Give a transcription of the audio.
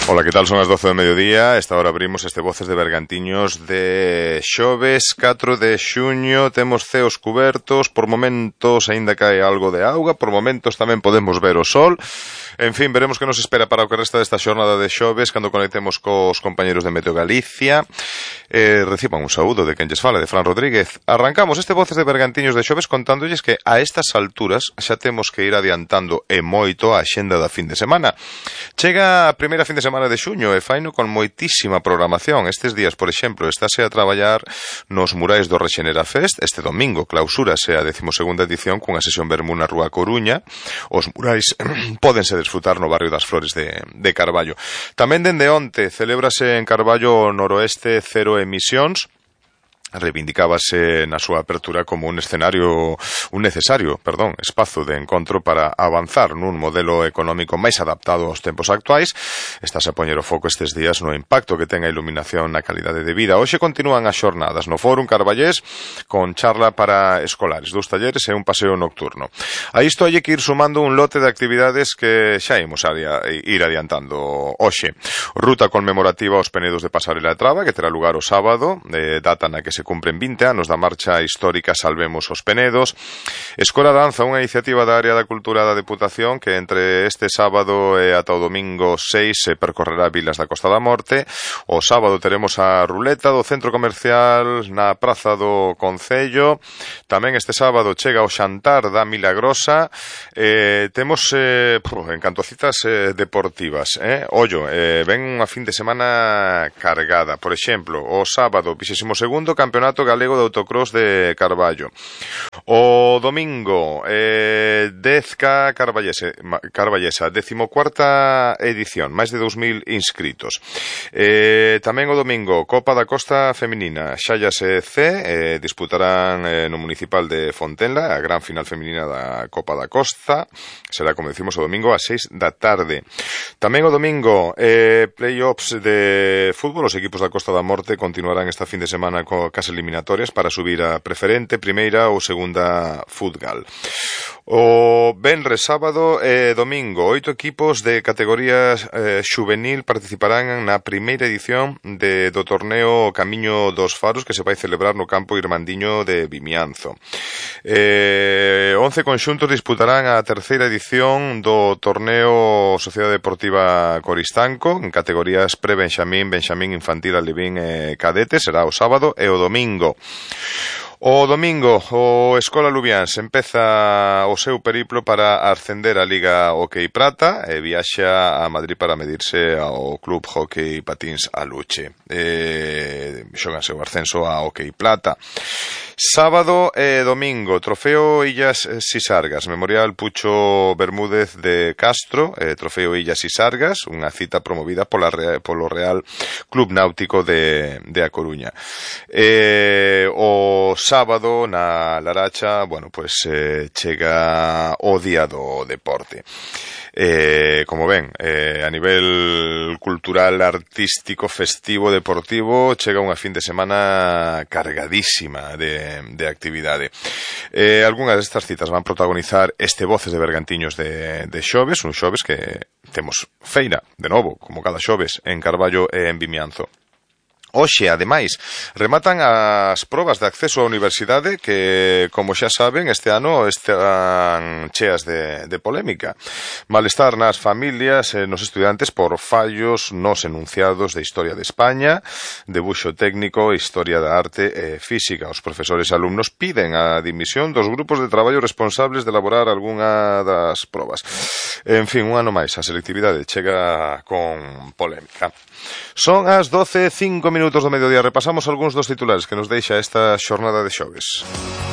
Ola, que tal? Son as 12 do mediodía. Esta hora abrimos este Voces de Bergantiños de xoves 4 de xuño. Temos ceos cubertos, por momentos aínda cae algo de auga, por momentos tamén podemos ver o sol. En fin, veremos que nos espera para o que resta desta xornada de xoves cando conectemos cos compañeros de Meteo Galicia. Reciban un saúdo de quen lles fala, de Fran Rodríguez. Arrancamos este Voces de Bergantiños de xoves contándolles que a estas alturas xa temos que ir adiantando e moito a axenda da fin de semana. Chega a primeira fin de semana de xuño e faino con moitísima programación. Estes días, por exemplo, estáse a traballar nos murais do Rexenera Fest. Este domingo clausúrase a 12ª edición cunha sesión vermú na Rúa Coruña. Os murais pódense desfrutar no barrio das Flores de Carballo. Tamén dende onte celébrase en Carballo Noroeste Cero Emisións. Reivindicábase na súa apertura como un necesario espazo de encontro para avanzar nun modelo económico máis adaptado aos tempos actuais. Estás a poñer o foco estes días no impacto que ten a iluminación na calidade de vida. Hoxe continúan as xornadas no Fórum Carballés con charla para escolares, 2 talleres e un paseo nocturno. A isto hai que ir sumando un lote de actividades que xa imos ir adiantando hoxe. Ruta conmemorativa aos Penedos de Pasarela e Traba, que terá lugar o sábado, data na que se cumpren 20 anos da marcha histórica Salvemos os Penedos. Escola Danza, unha iniciativa da área da cultura da Deputación que entre este sábado e ata o domingo 6 se percorrerá vilas da Costa da Morte. O sábado teremos a ruleta do centro comercial na Praza do Concello. Tamén este sábado chega o xantar da Milagrosa. Temos en canto a citas deportivas, ollo, ven unha fin de semana cargada. Por exemplo, o sábado 22º Campeonato Galego de Autocross de Carballo. O domingo 10K Carballesa, 14ª edición, máis de 2000 inscritos. Tamén o domingo Copa da Costa Feminina, Xallas e C disputarán no municipal de Fontenla a gran final feminina da Copa da Costa. Será, como decimos, o domingo ás 6 da tarde. Tamén o domingo play-offs de fútbol. Os equipos da Costa da Morte continuarán esta fin de semana cas eliminatorias para subir a preferente, primeira ou segunda Futgal. O venres, sábado e domingo 8 equipos de categoría xuvenil participarán na primeira edición do torneo Camiño dos Faros que se vai celebrar no campo Irmandiño de Vimianzo. 11 conxuntos disputarán a terceira edición do torneo Sociedade Deportiva Coristanco en categorías pre-Benxamín, Benxamín Infantil, Alevín e Cadete. Será o sábado e o domingo. O domingo, o Escola Lubiáns empeza o seu periplo para ascender a Liga Hockey Prata e viaxa a Madrid para medirse ao Club Hockey Patins Aluche. Xóganse o ascenso a Hockey Plata. Sábado e domingo, Trofeo Illas Sisargas, Memorial Pucho Bermúdez de Castro, Trofeo Illas Sisargas, unha cita promovida polo Real Club Náutico de A Coruña. O sábado na Laracha, chega o Día do Deporte. Como ven, a nivel cultural, artístico, festivo, deportivo, chega unha fin de semana cargadísima de actividade. Algunhas destas citas van protagonizar este Voces de Bergantiños de xoves, un xoves que temos feira, de novo, como cada xoves, en Carballo e en Vimianzo. Hoxe, ademais, rematan as probas de acceso á universidade que, como xa saben, este ano están cheas de polémica. Malestar nas familias e nos estudiantes por fallos nos enunciados de Historia de España, Debuxo Técnico, Historia da Arte e Física. Os profesores e alumnos piden a dimisión dos grupos de traballo responsables de elaborar algunha das probas. En fin, un ano máis, a selectividade chega con polémica. Son as 12:05 do mediodía. Repasamos algúns dos titulares que nos deixa esta xornada de xoves.